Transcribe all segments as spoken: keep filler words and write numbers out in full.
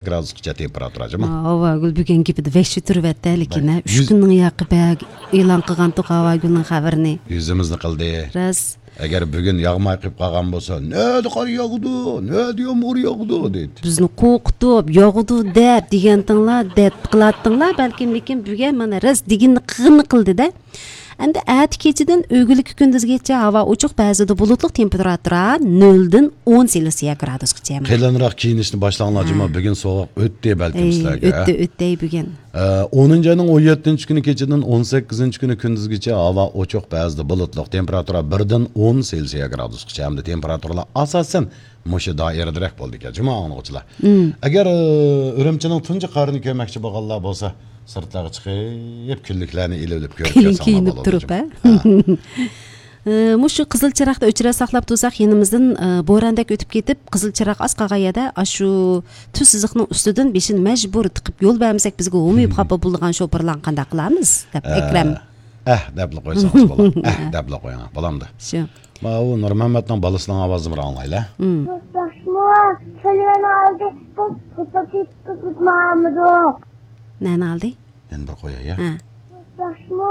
گرادۇسقىچە تېمپېراتۇرا جۇمۇ. ھاۋاگۈل بۈگۈن گېپىدە ۋەھشىي تۇرۇۋەتتى لېكىن، ھە، ئۈچ بەك. كۈننىڭ ياقى بەك ئېلان قىلغانتۇق ھاۋاگۈلنىڭ خەۋىرىنى. يۈزىمىزنى قىلدى. راست. ئەگەر بۈگۈن ياغماي قېلىپ قالغان بولسا، نەدە قار ياغىدۇ، نەدە يامغۇر ياغىدۇ دەيدۇ. بىزنى قورقۇتۇپ، ياغىدۇ دەپ دېگەنتىڭلار، دەپ قىلاتتىڭلار، بەلكىم، لېكىن بۈگۈن مانا راست دېگىنىنى قىلغىنى قىلدى-دە. ئەمدى ئەتە كېچىدىن ئۆگۈنلۈككە كۈندۈزگىچە ھاۋا ئوچۇق، بەزىدە بۇلۇتلۇق، تېمپېراتۇرا نۆلدىن ئون سېلسىيە گرادۇسقىچە. قېلىنراق كىيىنىشنى باشلاڭلار، ھە. جۇمۇ، بۈگۈن سوغۇق ئۆتتى بەلكىم ئەي، سىلەرگە، ئۆتتى، ھە؟ ئۆتتى بۈگۈن. ئە، ئونىنچى ئاينىڭ ئون يەتتىنچى كۈنى كېچىدىن ئون سەككىزىنچى كۈنى كۈندۈزگىچە ھاۋا ئوچۇق، بەزىدە بۇلۇتلۇق، تېمپېراتۇرا بىردىن ئون سېلسىيە گرادۇسقىچە ھەمدە تېمپېراتۇرىلار ئاساسەن مۇشۇ دائىرىدىرەك بولىدىكەن، جۇمۇ ئاڭلىغۇچىلار. مم. ئەگەر، ئە، ئۈرۈمچىنىڭ تۇنجى قارىنى كۆرمەكچى بولغانلار بولسا، سىرتلارغا چىقىپ، كۈنلۈكلەرنى ئېلىۋېلىپ كۆرۈپ كەلسەڭلار كېيىنىپ بولىدۇ، تۇرۇپ، جۇمۇ. ھە؟ ھە. ئە، مۇشۇ قىزىل چىراغدا ئۆچىرە ساقلاپ تۇرساق، يېنىمىزدىن، ئە، بورەندەك ئۆتۈپ كېتىپ، قىزىل چىراغ ئاز قالغان يەردە، ئاشۇ تۈز سىزىقنىڭ ئۈستىدىن بېشىنى مەجبۇر تىقىپ يول بەرمىسەك، بىزگە ھومىيىپ خاپا بولىدىغان شوپۇرلارنى قانداق قىلارمىز؟ دەپ، ئە، ئەكرەم. ئەھ دەپلا قويسىڭىز بولار. ئەھ دەپلا قويۇڭ. بولامدۇ؟ شۇ. ماۋۇ نۇرمەممەتنىڭ بالىسىنىڭ ئاۋازىنى بىر ئاڭلايلى. مم. ياخشىمۇ؟ سەلۋەننى ئالدى، بىز قۇتۇپ كېتىپ ماڭامدۇق. نەنى ئالدى؟ يەنە بىر قوياي، يا. ھە. ياخشىمۇ؟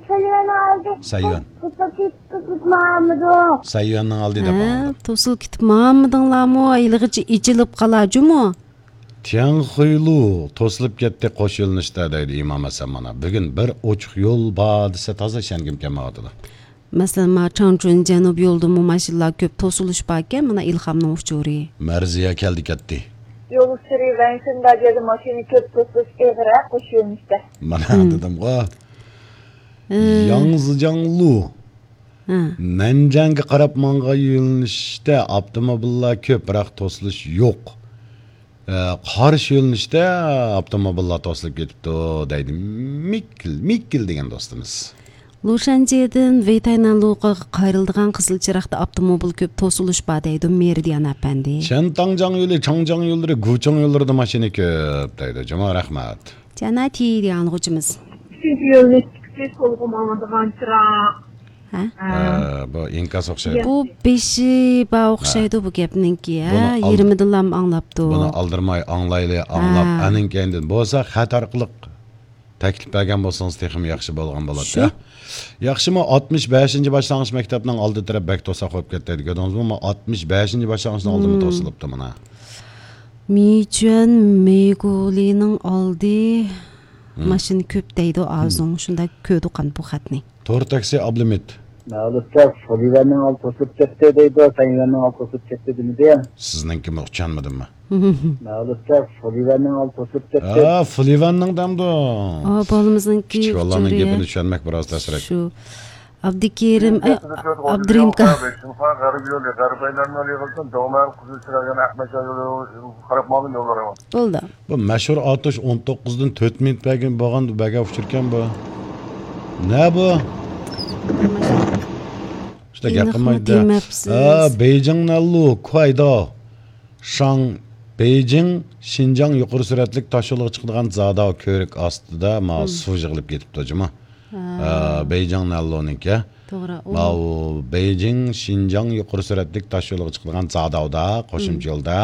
سەلۋەننى ئالدى، سەيۋەن. بىز قۇتۇپ كېتىپ ماڭامدۇق. سەيۋەننىڭ ئالدى دەپ ھە، ئاڭلىدىم. توسۇلۇپ كېتىپ ماڭامدىڭلارمۇ؟ ھېلىغىچە ئېچىلىپ قالا جۇمۇ. تياڭخۇيلۇ توسۇلۇپ كەتتى قوش يۆنىلىشتە دەيدۇ ئىمام ھەسەن مانا. بۈگۈن بىر ئوچۇق يول بار دېسە تازا ئىشەنگۈم كەلمەيۋاتىدۇ. مەسىلەن، ما چاڭچۈن جەنۇب يولىدىمۇ ماشىنىلار كۆپ توسۇلۇش باركەن، مانا ئىلھامنىڭ ئۇچۇرى. مەرزىيە كەلدى كەتتى. يول ئۇچۇرى ۋەنشىن داديەدە ماشىنا كۆپ توسۇلۇش ئېغىر ھە، قوش يۆنىلىشتە. مانا مم. دېدىمغۇ. ھە. ياڭزىجاڭلۇ. ھە. نەنجەڭگە قاراپ ماڭغان يۆنىلىشتە ئاپتوموبىللار كۆپ، بىراق توسۇلۇش يوق. ئە، قارشى يۆنىلىشتە ئاپتوموبىللار توسۇلۇپ كېتىپتۇ، دەيدۇ مىككىل، مىككىل دېگەن دوستىمىز. لۇشەنجيېدىن ۋېيتاينەنلۇغا قايرىلىدىغان قىزىل چىراغدا ئاپتوموبىل كۆپ توسۇلۇش بار دەيدۇ مېرىدىيان ئەپەندى. چەنتاڭجاڭ يولى، چاڭجاڭ يوللىرى، گۇچاڭ يوللىرىدا ماشىنا كۆپ دەيدۇ. جۇمۇ، رەھمەت. جانا تى دېگەن ئاڭلىغۇچىمىز. ئۈچىنچى يۆنىلىشتىكىسى سولغا ماڭىدىغان چىراغ. ھە؟ ھە. ئە، بۇ ئىنكاس ئوخشايدۇ. بۇ بېشى بار ئوخشايدۇ بۇ گەپنىڭكى، ھە؟ بۇنى ئال-، يېرىمىدىنلا ئاڭلاپتۇ. بۇنى ئالدىرىماي ئاڭلايلى، ئاڭلاپ، ھە. ئانىڭ كەينىدىن بولسا خەت ئارقىلىق تەكلىپ بەرگەن بولسىڭىز تېخىمۇ ياخشى بولغان بولاتتى، شۇ. ھە؟ ياخشىمۇ، ئاتمىش بەشىنچى باشلانغۇچ مەكتەپنىڭ ئالدى تەرەپ بەك توساق بولۇپ كەتتى دېگەن، كۆردىڭىزمۇ؟ مانا ئاتمىش بەشىنچى باشلانغۇچنىڭ ئالدىمۇ مم. توسۇلۇپتۇ مانا. مىچۈەن مېگۇلىنىڭ ئالدى مم. ماشىنا كۆپ دەيدۇ، مم. ئازۇڭ شۇنداق كۆردۇق قان بۇ خەتنى. تور تاكسى ئابلىمىت. مەلۇتتا سۇلىۋەننىڭ ئالدى توسۇلۇپ كەتتى دەيدۇ، سەيۋەننىڭ ئالدى توسۇلۇپ كەتتى دېمىدى. سىزنىڭكىمۇ ئۇچانمىدىممۇ؟ مەلۇتتا سۇلىۋەننىڭ ئالدى توسۇلۇپ كەتتى. ھە، سۇلىۋەننىڭ دەمدۇ. ئا، بالىمىزنىڭكى كىچىك بالىلارنىڭ ئۇچۇرى. گېپىنى چۈشەنمەك بىراز تەسرەك. شۇ. ئابدۇكېرىم، ئە، ئابدۇرېھىمكا. غەربىي يولى، غەربىي يولى يىغىلسۇن، دوغمەن قىزىل چىراغ يەنە ئەقمەچ يولى قاراپ ماڭىدۇ يوللار. بولدى. بۇ مەشھۇر ئاتۇش ئون توققۇزدىن تۆت مىنۇت بەرگەن بولغان، بەرگەن ئۇچۇركەن بۇ. نە بۇ؟ شۇنداق گەپ قىلمايدۇ. ھە، بېيجىڭ نەنلۇ، كۇايداۋ، شاڭ، بېيجىڭ، شىنجاڭ يۇقىرى سۈرئەتلىك تاش يولىغا چىقىدىغان زاداۋ كۆۋرۈك ئاستىدا، ماۋۇ سۇ يىغىلىپ كېتىپتۇ جۇمۇ. ھە. ئە، بېيجىڭ نەنلۇنىڭكى. توغرا، ئۇ ماۋۇ بېيجىڭ، شىنجاڭ يۇقىرى سۈرئەتلىك تاش يولىغا چىقىدىغان زاداۋدا، قوشۇمچە يولدا،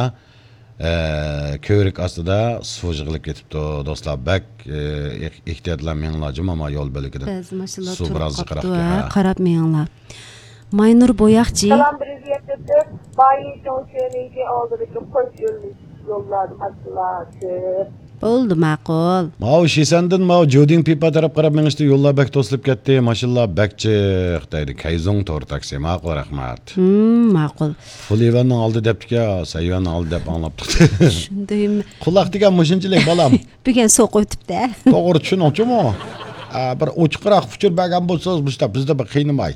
ئە، كۆۋرۈك ئاستىدا سۇ يىغىلىپ كېتىپتۇ، دوستلار. بەك، ئە، ئېھ-، ئېھتىياتلار مېڭىڭلار جۇمۇ، ما يول بۆلىكىدە. بەزى ماشىنىلار سۇ تۇرۇپ بىراز قاپتۇ، جىقراقكەن، ھە، ھە. قاراپ مېڭىڭلار. ماينۇر بوياقچى. سالام، بىر يەتتە تۆت، بايىنچۇڭ شۆنىڭكى ئالدىدىكى قوش يۆنىلىش يوللاردا ماشىنىلار كۆپ. بولدى، ماقۇل. ماۋۇ شىسەندىن ماۋۇ جۇدىڭ پىپا تەرەپ قاراپ مېڭىشتا يوللار بەك توسۇلۇپ كەتتى، ماشىنىلار بەك جىق دەيدۇ. كەيزۇڭ تور تاكسى، ماقۇل، رەھمەت. ھىم، ماقۇل. فۇلىۋەننىڭ ئالدى دەپتىكەن، سەيۋەننىڭ ئالدى دەپ ئاڭلاپتۇق. شۇندايمۇ؟ قۇلاق دېگەن مۇشۇنچىلىك، بالام. بۈگۈن سوقۇپ ئۆتۈپتە. توغرا چۈشىنىڭچۇمۇ؟ ئا، بىر ئوچۇقراق ئۇچۇر بەرگەن بولسىڭىز، مۇشۇنداق بىزنى بىر قىينىماي.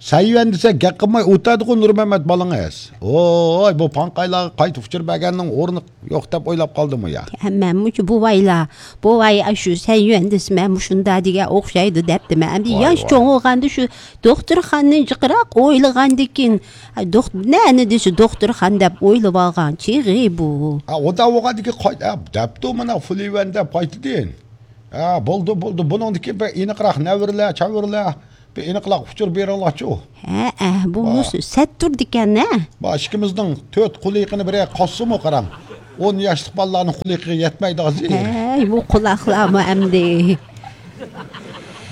سەيۋەن دېسە گەپ قىلماي ئولتۇرىدىغۇ نۇرمەمەت بالىڭىز. ۋوي، بۇ پاڭقايلارغا قايتا ئۇچۇر بەرگەننىڭ ئورنى يوق دەپ ئويلاپ قالدىمۇ يا؟ ھەممەمۇ شۇ بوۋايلار، بوۋاي، ئاشۇ سەيۋەن دېسە مەن مۇشۇندا دېگەن ئوخشايدۇ دەپتىمەن. ئەمدى ياش چوڭ بولغاندا شۇ دوختۇرخانىنى جىقراق ئويلىغاندىكىن، دوخ-، نەنى دېسە دوختۇرخانا دەپ ئويلىۋالغان چېغى بۇ. ھە، ئۇدا بولغاندىكىن قايتا، ھە، دەپتۇ مانا فۇلىۋەن دەپ قايتىدىن. ھە، بولدى، بولدى. بۇنىڭدىكى بىر ئېنىقراق نەۋرىلەر، چەۋرىلەر، بىر ئېنىقراق ئۇچۇر بېرىڭلارچۇ. ھە، ئە، بۇ مۇشۇ سەت تۇردىكەن، ھە؟ بۇ ئىككىمىزنىڭ تۆت قۇلىقىنى بىرەر قاسسىمۇ قاراڭ. ئون ياشلىق بالىلارنىڭ قۇلىقىغا يەتمەيدۇ ھازىر. ھەي، بۇ قۇلاقلارمۇ ئەمدى.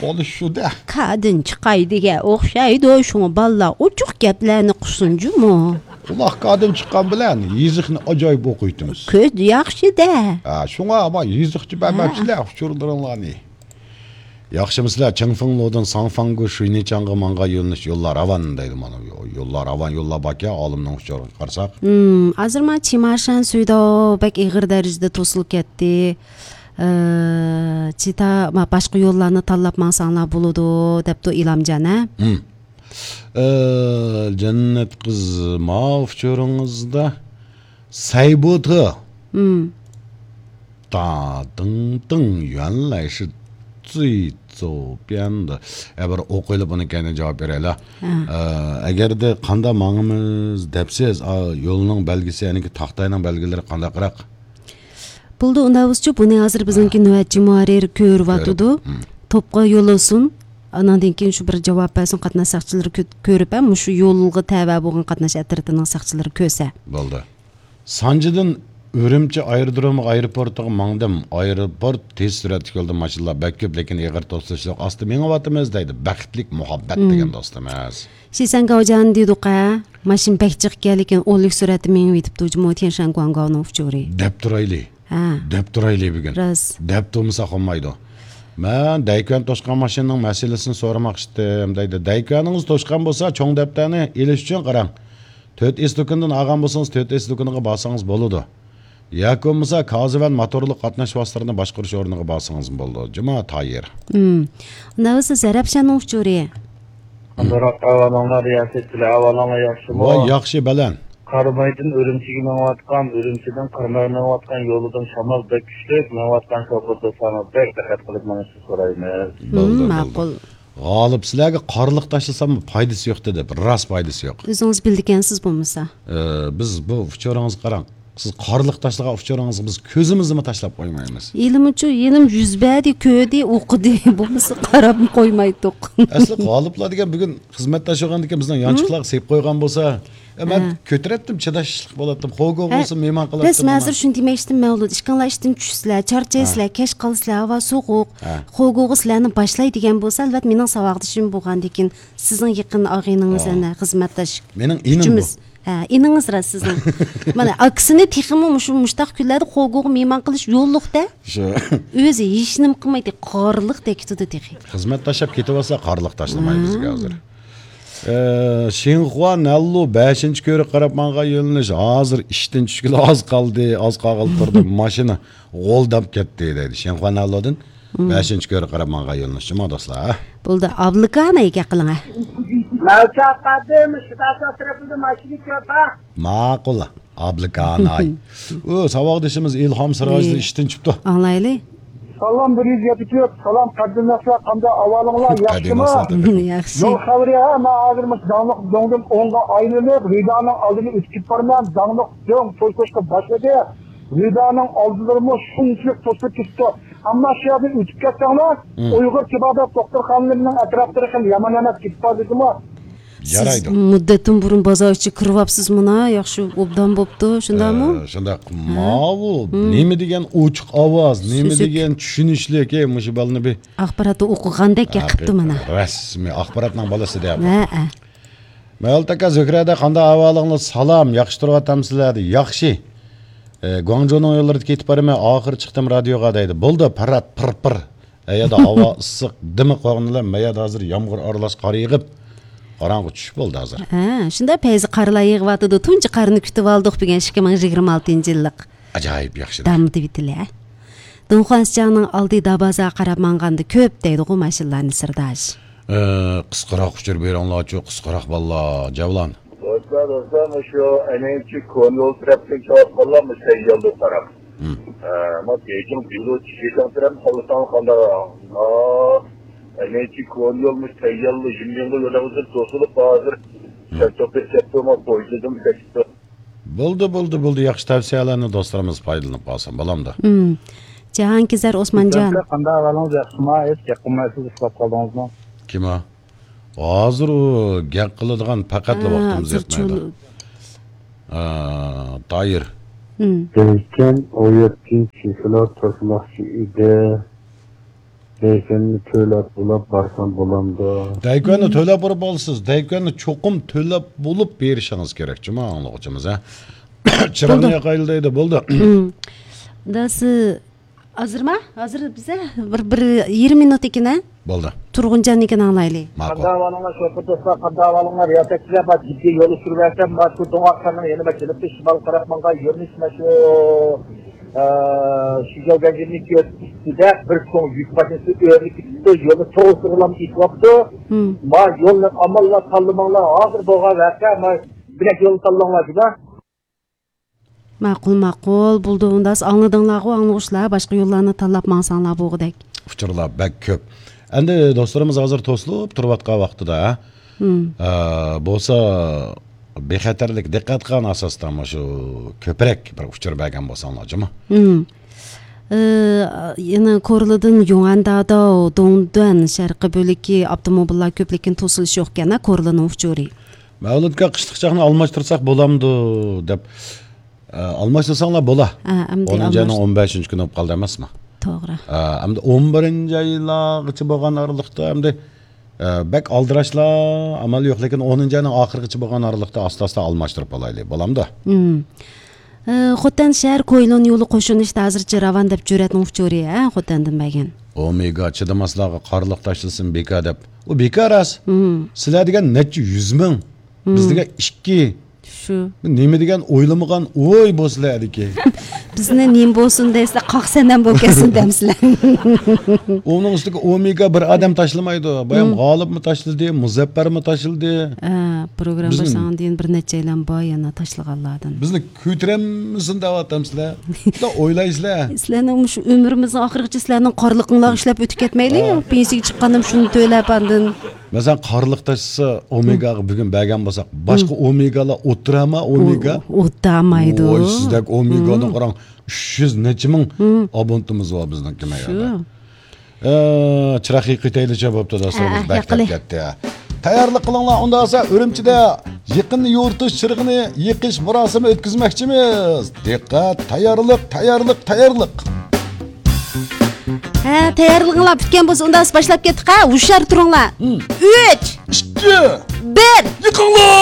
بولۇشىدۇ. كادىن چىقاي دېگەن ئوخشايدۇ، شۇڭا بالىلار ئوچۇق گەپلەرنى قىلسۇن جۇمۇ. قۇلاق كادىن چىققان بىلەن يېزىقنى ئاجايىپ ئوقۇيتىمىز. كۆز ياخشى-دە. ھە، شۇڭا ما يېزىقچە بەرمەپسىلەر ئۇچۇرلىرىڭلارنى. ياخشىمۇسىلەر؟ چىڭفېڭلۇدىن ساڭفاڭگۇ شۇينىچاڭغا ماڭغان يۆنىلىش يوللار راۋان دەيدۇ. مانا يوللار راۋان يوللار باركەن، ئالىمنىڭ ئۇچۇرىغا قارىساق. ھىم، ھازىر ما چىمارشان سۈيداۋ بەك ئېغىر دەرىجىدە توسۇلۇپ كەتتى. ئى، چىتا، ما، باشقا يوللارنى تاللاپ ماڭساڭلار بولىدۇ، دەپتۇ ئىلامجان، ھە؟ ھىم. ئى، جەننەت قىز، ما ئۇچۇرىڭىزدا سەيبۇتى. ھىم. 大东东原来是最左边的. ئە، بىر ئوقۇيلى، بۇنى كەينىدىن جاۋاب بېرەيلى. ھە. ئە، ئەگەردە قاندا ماڭىمىز دەپسىز، ئا، يولنىڭ بەلگىسى، يەنىكى تاختاينىڭ بەلگىلىرى قانداقراق؟ بولدى، ئۇنداق بولسىچۇ، بۇنى ھازىر بىزنىڭكى ھە. نۆۋەتچى مۇھەررىر كۆرۈۋاتىدۇ. كۆرۈپ، ھىم. توپقا يوللىسۇن. ئاناندىن كېيىن شۇ بىر جاۋاب بەرسۇن، قاتناش ساقچىلىرى كۆ-، كۆرۈپ، ھە، مۇشۇ يولغا تەۋە بولغان قاتناش ئەترىتىنىڭ ساقچىلىرى كۆرسە. بولدى. سانجىدىن ئۈرۈمچى ئايرودرومى ئايروپورتىغا ماڭدىم. ئايروپورت تېز سۈرئەتلىك يولدا ماشىنىلار بەك كۆپ، لېكىن ئېغىر توسۇلۇش يوق. ئاستا مېڭىۋاتىمىز دەيدۇ. بەختلىك مۇھەببەت مم. دېگەن دوستىمىز. شىسەنگاۋجان دېدۇق ھە. ماشىنا بەك جىق ئىكەن، لېكىن ئون لىك سۈرئەتتە مېڭىۋېتىپتۇ جۇمۇ تيەنشان گۇاڭگاۋنىڭ ئۇچۇرى. دەپ تۇرايلى. ھە. دەپ تۇرايلى بۈگۈن. راست. دەپ تۇرمىساق بولمايدۇ. مەن دەيكۈەن توشقان ماشىنىنىڭ مەسىلىسىنى سورىماقچى ئىدىم دەيدۇ. دەيكۈەنىڭىز توشقان بولسا، چوڭ دەپتەرنى ئېلىش ئۈچۈن قاراڭ. تۆت ئېس دۇكىنىدىن ئالغان بولسىڭىز، تۆت ئېس دۇكىنىغا بارسىڭىز بولىدۇ. ياكى بولمىسا، كازىۋەن موتورلۇق قاتناش ۋاسىتىلىرىنى باشقۇرۇش ئورنىغا بارسىڭىزمۇ بولىدۇ. جۇما تايىر. ھىم. ئۇنداق بولسا زەرەپشاننىڭ ئۇچۇرى. ئامراق ئەھۋالىڭلار ياخشى، سىلەر ئەھۋالىڭلار ياخشىمۇ؟ ۋاي، ياخشى، بەلەن. قارامايدىن ئۈرۈمچىگە مېڭىۋاتقان، ئۈرۈمچىدىن قارامايغا مېڭىۋاتقان يولىدىن شامال بەك كۈچلۈك، مېڭىۋاتقان شوپۇر دوستلارنىڭ بەك دىققەت قىلىپ مېڭىشىنى سورايمىز. بولدى، ھىم، بولدى. ماقۇل. غالىپ، سىلەرگە قارىلىق تاشلىسام پايدىسى يوق دېدى. راست، پايدىسى يوق. ئۆزىڭىز بىلىدىكەنسىز بولمىسا. ئى، بىز بۇ ئۇچۇرىڭىزغا قاراڭ. سىز قارىلىق تاشلىغان ئۇچۇرىڭىزغا بىز كۆزىمىزنىمۇ تاشلاپ قويمايمىز. ھېلىمۇچۇ، ھېلىمۇ يۈز بەردى، كۆردى، ئوقۇدى. بولمىسا قاراپمۇ قويمايتتۇق. ئەسلى غالىپلار دېگەن بۈگۈن خىزمەتداش بولغاندىكىن بىزنىڭ يانچۇقلارغا سېلىپ قويغان بولسا، ئە، مەن ھە. كۆتۈرەتتىم، چىداشلىق بولاتتىم. خوگوغ ھە. بولسا مېھمان بەس، قىلاتتىم مەن ھازىر مانا. شۇنى دېمەكچىدىم، مەۋلۇت. ئىشقىلار ئىشتىن چۈشىسىلەر، چارچايسىلەر، ھە. كەچ قالىسىلەر، ھاۋا سوغۇق. ھە. خوگوغ سىلەرنى باشلاي دېگەن بولسا، ئەلۋەتتە مېنىڭ ساۋاقدىشىم بولغاندىكىن، سىزنىڭ يېقىن ئاغىنىڭىز، ھە. ئەنە، خىزمەتداش. مېنىڭ ئىنىم بۇ. ھە، ئىنىڭىز راست سىزنىڭ. مانا، ئاكىسىنى تېخىمۇ مۇشۇ، مۇشتاق كۈنلەردە خوگوغا مېھمان قىلىش يوللۇق-دە. شۇ. ئۆزى ھېچنېمە قىلمايدۇ، قارىلىقتەك كېتىدۇ تېخى. خىزمەتداش بولۇپ كېتىۋالسا، قارىلىقداشلىماي بىزگە ھازىر. ئى، شىنخۇا نەنلۇ بەشىنچى كۆۋرۈك قاراپ ماڭغان يۆنىلىش. ھازىر ئىشتىن چۈشكىلى ئاز قالدى، ئاز قالغىلى تۇردى. ماشىنا غولداپ كەتتى دەيدۇ. شىنخۇا نەنلۇدىن بەشىنچى كۆۋرۈك قاراپ ماڭغان يۆنىلىش. شۇما دوستلار، ھە؟ بولدى، ئابلىكاناي گەپ قىلىڭ، ھە. مەلچاق قادىم، شىداسا تەرەپىدە ماشىنا كۆپ، ھە؟ ماقۇل. ئابلىكاناي. ئۇ ساۋاقدىشىمىز ئىلھام سىراجدىن ئىشتىن چۈشۈپتۇ. ئاڭلايلى. سالام، بىر يۈز يەتتە تۆت. سالام، قەدىرلىك دوستلار، قانداق ئەھۋالىڭلار؟ ياخشىمۇ؟ ياخشى. يول خەۋىرى، ھە، مەن ھازىر مۇشۇ داڭلىق دۆڭدىن ئوڭغا ئايلىنىپ، رىدانىڭ ئالدىنى ئۆتۈپ كېتىپ بارىمەن. داڭلىق دۆڭ توي قىلىشقا باشلىدى. رىدانىڭ ئالدىلىرىمۇ شۇنچىلىك توسۇلۇپ كېتىپتۇ. ئەمما شۇ يەردىن ئۆتۈپ كەتسەڭلار، ئۇيغۇر تېبابەت دوختۇرخانىلىرىنىڭ ئەتراپلىرى خېلى يامان ئەمەس، كېتىپ بار دېدىمۇ. سىز يارايدۇ. مۇددەتتىن بۇرۇن بازار ئىچىگە كىرىۋاپسىزمۇ؟ ياخشى ئوبدان بوپتۇ، شۇنداقمۇ؟ ئە، شۇنداق. ھە. ماۋۇ نېمە دېگەن ئوچۇق ئاۋاز، نېمە دېگەن چۈشىنىشلىك. ئەي، مۇشۇ بالىنى بىر ئاخباراتتا ئوقۇغاندەك ھەقىقەتەن قىپتۇ مانا. رەسمىي ئاخباراتنىڭ بالىسى دەپ. ھە، ھە. مەۋلۇت ئاكا، زۆھرە ھەدە، قانداق ئەھۋالىڭلار؟ سالام، ياخشى تۇرۇۋاتامسىلەر؟ ياخشى. ئە، گۇاڭجۇنىڭ يوللىرىدا كېتىپ بارىمەن، ئاخىرى چىقتىم رادىيوغا دەيدۇ. بولدى، پەرھات، پىر، پىر. ئەيەردە ھاۋا ئىسسىق، دىمى قوغنىلىپ، مەيەردە ھازىر يامغۇر ئارىلاش قار يېغىپ، قاراڭغۇ چۈش بولدى ھازىر. ھە، شۇنداق پەيزى قارلار يېغىۋاتىدۇ. تۇنجى قارنى كۈتۈۋالدۇق بۈگۈن، ئىككى مىڭ يىگىرمە ئالتىنچى يىللىق. ئاجايىپ ياخشى. دامدا بىتىلە. دۇڭخۇەنسىچاڭنىڭ ئالدى دابازا قاراپ ماڭغاندا كۆپ دەيدىغۇ ماشىنىلارنى سىرداش. ئى، قىسقىراق ئۇچۇر بېرىڭلارچۇ، قىسقىراق بالىلار، جەۋلان. دوستلار، دوستلار، مۇشۇ ئەنىڭچى كونيول تەرەپتىن كېلىۋاتقانلار مۇشۇ تەييارلىق تەرەپ. ھىم. ئە، ما بېيجىڭ بىلۇ چىشىتاڭ تەرەپ قالساڭ قانداق؟ ئا، ئەنىڭچى كونيول مۇشۇ تەييارلىق يىملىڭغا يۆلەڭزىپ توسۇلۇپ ھازىر. ھىم. شەتوپى شەتوما پويىزىدىن كەچتى. بولدى، بولدى، بولدى. ياخشى تەۋسىيەلەرنى دوستلىرىمىز پايدىلىنىپ قالسۇن، بالامدا. ھىم. جاھانكېزەر ئوسمانجان. ئاكا، قانداق ئەھۋالىڭىز؟ ياخشىما؟ ھېچ گەپ قىلمايسىز، ئۇخلاپ قالدىڭىزمۇ؟ كىم ئۇ؟ ھازىر ئۇ گەپ قىلىدىغان پەقەتلا ھە، ۋاقتىمىز يەتمەيدۇ. ھە، تايىر. ھىم. دەيكەن، ئون يەتتىنچى چېكىلا توشماقچى ئىدى. دەيكەننى تۆلەپ بولاپ بارسام بولامدۇ؟ دەيكەننى تۆلەپ بولۇپ بولىسىز. دەيكەننى چوقۇم تۆلەپ بولۇپ بېرىشىڭىز كېرەك، جۇما ئاڭلىغۇچىمىز، ھە؟ چىراغنى بولدى. ياقايلى دەيدۇ، بولدى. ھىم. داسى، ھازىرما؟ ھازىر بىزە بىر، بىر يېرىم مىنۇت ئىكەن، ھە؟ بولدى. تۇرغۇنجاننىڭكىنى ئاڭلايلى. ماقۇل. قانداق ئەھۋالىڭلار، شوپۇر دوستلار، قانداق ئەھۋالىڭلار؟ رىياسەتچىلەر، بار جىددىي يول ئۇچۇرۇۋەرسەم، ما شۇ دوڭ ئاقساننىڭ يەنە بىر جەنۇبتىن شىمالغا قاراپ ماڭغان يۆنىلىش ما شۇ، ئە، شىجاۋگەنجىنىڭ ئۈستىدە بىر چوڭ يۈك ماشىنىسى ئۆرۈلۈپ كېتىپتۇ، يولنى توغرىسىغىلا ئېتىۋاپتۇ. ھىم. ما يولنى ئامانلار تاللىماڭلار، ھازىر بولغان ۋەقە، ما بىلەك يولنى تاللاڭلار جۇما. ماقۇل، ماقۇل. بولدى، ئۇنداس ئاڭلىدىڭلارغۇ، ئاڭلىغۇچىلار، باشقا يوللارنى تاللاپ ماڭساڭلار بولغۇدەك. ئۇچۇرلار بەك كۆپ. ئەمدى دوستلىرىمىز ھازىر توسۇلۇپ تۇرۇۋاتقان ۋاقتىدا، ھىم. ئە، بولسا بىخەتەرلىك، دىققەت قىلغان ئاساستا مۇشۇ كۆپرەك بىر ئۇچۇر بەرگەن بولساڭلار جۇما. ھىم. ئە، يەنە كورلىدىن يۇڭئەنداداۋ، دۇڭدۈەن، شەرقىي بۆلىكى ئاپتوموبىللار كۆپلۈكىنى توسۇلۇشى يوقكەن، ھە، كورلىنىڭ ئۇچۇرى. مەۋلۇتكا قىشلىق چاقنى ئالماشتۇرساق بولامدۇ دەپ، ئە، ئالماشتۇرساڭلار بولا. ھە، ئەمدى ئونىنچى ئاينىڭ ئالماش- ئون بەشىنچى كۈنى بولۇپ قالدى ئەمەسمۇ؟ توغرا. ئە، ئەمدى ئون بىرىنچى ئايلارغىچە بولغان ئارىلىقتا ئەمدى، ئە، بەك ئالدىراشلا ئامال يوق، لېكىن ئونىنچى ئاينىڭ ئاخىرىغىچە بولغان ئارىلىقتا ئاستا-ئاستا ئالماشتۇرۇپ ئالايلى. بولامدۇ؟ مم. ئە، خوتەن شەھەر كويلۇن يولى قوشۇن ئىشتا ھازىرچە راۋان دەپ جۈرئەتنىڭ ئۇچۇرى، ھە، خوتەندىن بەرگەن. ئومېگا چىدىماسلارغا قارلىق تاشلىسۇن بىكار دەپ. ئۇ بىكار راست. مم. سىلەر دېگەن نەچچە يۈز مىڭ. بىز مم. دېگەن ئىككى. شۇ. نېمە دېگەن ئويلىمىغان ئوي بۇ سىلەردىكى. بىزنى نېمە بولسۇن دەيسىلەر، قاق سەنەم بولۇپ كەتسۇن دەمسىلەر. ئۇنىڭ ئۈستىگە ئومېگا بىر ئادەم تاشلىمايدۇ. بايام مم. غالىبمۇ تاشلىدى، مۇزەپپەرمۇ تاشلىدى. ھە، پروگرامما بىزنى باشلانغاندىن بىر نەچچەيلەن بار يەنە تاشلىغانلاردىن. بىزنى كۆتۈرەلمىسۇن دەۋاتامسىلەر. شۇنداق ئويلايسىلەر. سىلەرنىڭ مۇشۇ ئۆمرىمىزنىڭ ئاخىرىغىچە سىلەرنىڭ قارلىقىڭلارغا ئىشلەپ ئۆتۈپ كەتمەيلى. ھە. پېنسىيەگە چىققاندىن شۇنى تۆلەپ ئاندىن. مەسىلەن، قارلىق تاشلىسا، ئومېگاغا بۈگۈن بەرگەن بولساق، باشقا ئومېگالار ئولتۇرامۇ، ئومېگا؟ ئولتۇرالمايدۇ. ۋاي، سىزدەك ئومېگانى قاراڭ، ئۈچ يۈز نەچچە مىڭ ئابونتىمىز بار بىزنىڭكى مەيەردە. شۇ. ئە، چىراغ يېقىۋېتەيلىچە بوپتۇ، دوستلىرىمىز ھە، بەك يېقىلى. كەتتى. تەييارلىق قىلىڭلار، ئۇنداق بولسا ئۈرۈمچىدە يېقىننى يورۇتۇش چىرىغىنى يېقىش مۇراسىمى ئۆتكۈزمەكچىمىز. دىققەت، تەييارلىق، تەييارلىق، تەييارلىق. ھە، تەييارلىقىڭلار پۈتكەن بولسا، ئۇنداق بولسا باشلاپ كەتتۇق، ھە؟ ھوشيار تۇرۇڭلار. ھىم. ئۈچ، ئىككى، بىر. يېقىڭلار!